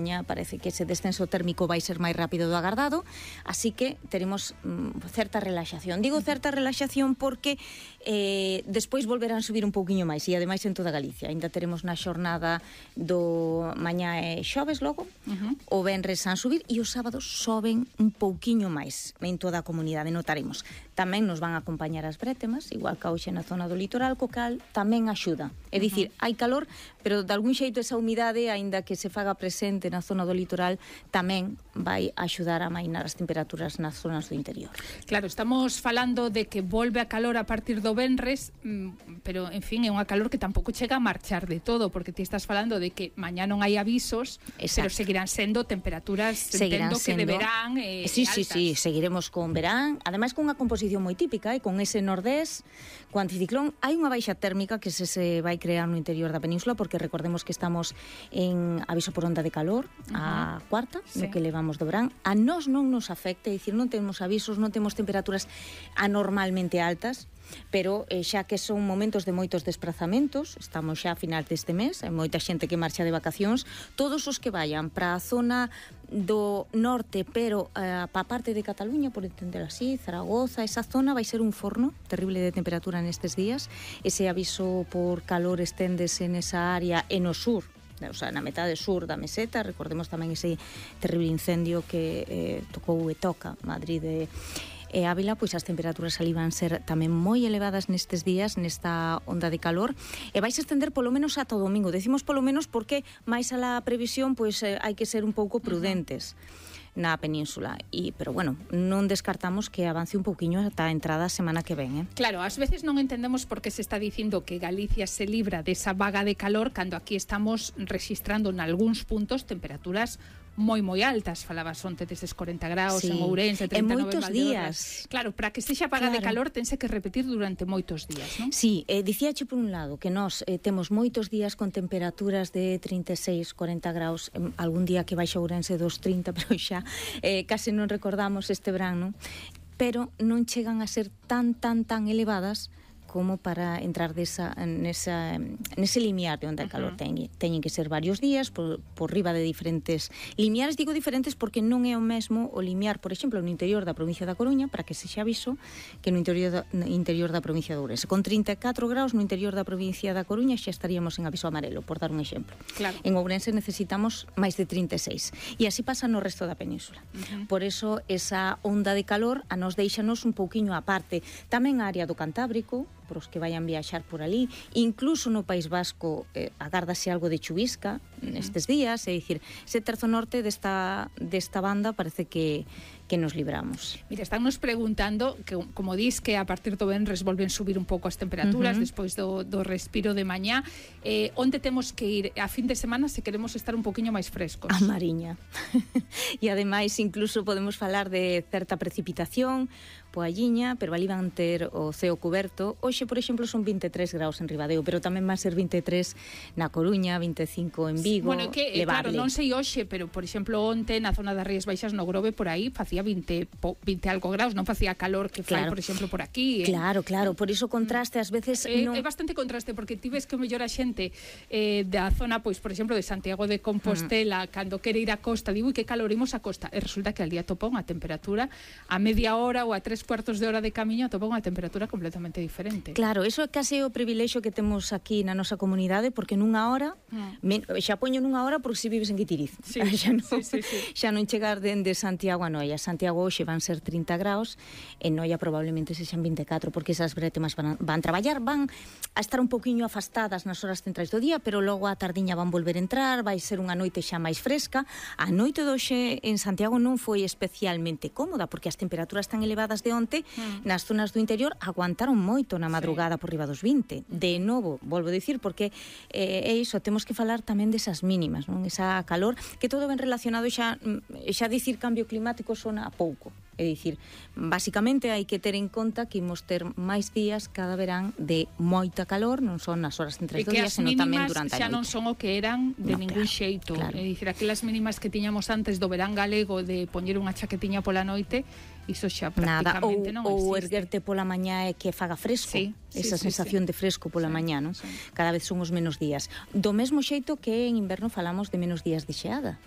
Parece que ese descenso térmico vai ser máis rápido do agardado, así que teremos certa relaxación. Digo certa relaxación porque despois volverán a subir un pouquiño máis, e ademais en toda Galicia. Ainda teremos na xornada do mañá e xoves logo, o venres van subir e os sábados soben un pouquiño máis en toda a comunidade, notaremos. Tamén nos van a acompañar as brétemas, igual que hoxe na zona do litoral, co cal tamén axuda. É dicir, hai calor, pero de algún xeito esa humidade, aínda que se faga presente na zona do litoral, tamén vai axudar a amainar as temperaturas nas zonas do interior. Claro, estamos falando de que volve a calor a partir do venres, pero, en fin, é unha calor que tampouco chega a marchar de todo, porque ti estás falando de que mañá non hai avisos, pero seguirán sendo temperaturas, entendo que de verán sí, altas. Sí, seguiremos con verán, ademais con unha composición moi típica, con ese nordés, co anticiclón, hai unha baixa térmica que se vai crear no interior da península, porque recordemos que estamos en aviso por onda de calor, a cuarta, no que levamos do verán. A nós non nos afecta, é dicir, non temos avisos, non temos temperaturas anormalmente altas, pero xa que son momentos de moitos desplazamentos, estamos xa a final deste mes, hai moita xente que marcha de vacacións, todos os que vayan para a zona do norte, pero para a parte de Cataluña, por entender así, Zaragoza, esa zona vai ser un forno terrible de temperatura nestes días. Ese aviso por calor esténdese nesa área e no sur, o sea, na metade sur da meseta. Recordemos tamén ese terrible incendio que tocou e toca Madrid e Ávila, pois as temperaturas ali van ser tamén moi elevadas nestes días, nesta onda de calor, e vais a estender polo menos ata o domingo. Decimos polo menos porque máis a la previsión, pois hai que ser un pouco prudentes na península, pero bueno, non descartamos que avance un pouquiño ata a entrada a semana que ven. Claro, ás veces non entendemos por que se está dicindo que Galicia se libra desa vaga de calor cando aquí estamos registrando en algúns puntos temperaturas moi altas. Falabas onte deses 40 graus en Ourense, 39 en moitos días. Claro, para que estexa vaga de calor tense que repetir durante moitos días, non? Sí, dicíache por un lado que nós temos moitos días con temperaturas de 36, 40 graus, algún día que baixa Ourense dos 30, pero xa case non recordamos este verán, non? Pero non chegan a ser tan elevadas como para entrar nese limiar de onde a calor teñen que ser varios días por riba de diferentes limiares. Digo diferentes porque non é o mesmo o limiar, por exemplo, no interior da provincia da Coruña, para que se xa aviso, que no interior da provincia de Ourense. Con 34 graus no interior da provincia da Coruña xa estaríamos en aviso amarelo, por dar un exemplo. Claro. En Ourense necesitamos máis de 36, e así pasa no resto da península. Por eso esa onda de calor a nos deixanos un pouquiño aparte. Tamén a área do Cantábrico, por os que vayan viaxar por ali, incluso no País Vasco agárdase algo de chuvisca nestes días, é dicir, ese terzo norte desta banda parece que nos libramos. Mira, están nos preguntando que, como dis, que a partir do venres volven subir un pouco as temperaturas despois do respiro de mañá. Onde temos que ir a fin de semana se queremos estar un poquinho máis frescos? A Mariña. E ademais incluso podemos falar de certa precipitación, Poalliña, pero ali van ter o ceo cuberto. Hoxe, por exemplo, son 23 graus en Ribadeo, pero tamén van ser 23 na Coruña, 25 en Vigo. Bueno, que claro, non sei hoxe, pero por exemplo, onte na zona das Rías Baixas no Grove, por aí facía 20 algo graus, non facía calor que fai, por exemplo, por aquí. Claro, por iso contraste ás veces é bastante contraste, porque ti ves que o mellor a xente da zona, pois, por exemplo, de Santiago de Compostela, cando quere ir á costa, digo, que calor, imos á costa, e resulta que al día topa unha temperatura a media hora ou a 3/4 de hora de camiño topa unha temperatura completamente diferente. Claro, eso é case o privilexio que temos aquí na nosa comunidade, porque nunha hora, xa poño nunha hora porque se vives en Guitiriz, xa non chegar dende Santiago a Noia. Santiago hoxe van ser 30 graus, en Noia probablemente sexan 24, porque esas brétemas van traballar, van a estar un poquinho afastadas nas horas centrais do día, pero logo a tardiña van volver a entrar, vai ser unha noite xa máis fresca. A noite de hoxe en Santiago non foi especialmente cómoda, porque as temperaturas tan elevadas de onte nas zonas do interior aguantaron moito na madrugada por riba dos 20. De novo, volvo a dicir, porque é iso, temos que falar tamén desas mínimas, non? Esa calor, que todo ben relacionado, xa dicir cambio climático sona a pouco. É dicir, basicamente hai que ter en conta que imos ter máis días cada verán de moita calor, non son nas horas centrais do día, senón tamén durante a noite. Xa non son o que eran de ningún xeito. É dicir, aquelas mínimas que tiñamos antes do verán galego de poñer unha chaquetiña pola noite, iso xa prácticamente non existe. Ou erguerte pola mañá e que faga fresco. Esa sensación de fresco pola mañá, non? Cada vez son os menos días. Do mesmo xeito que en inverno falamos de menos días de xeada.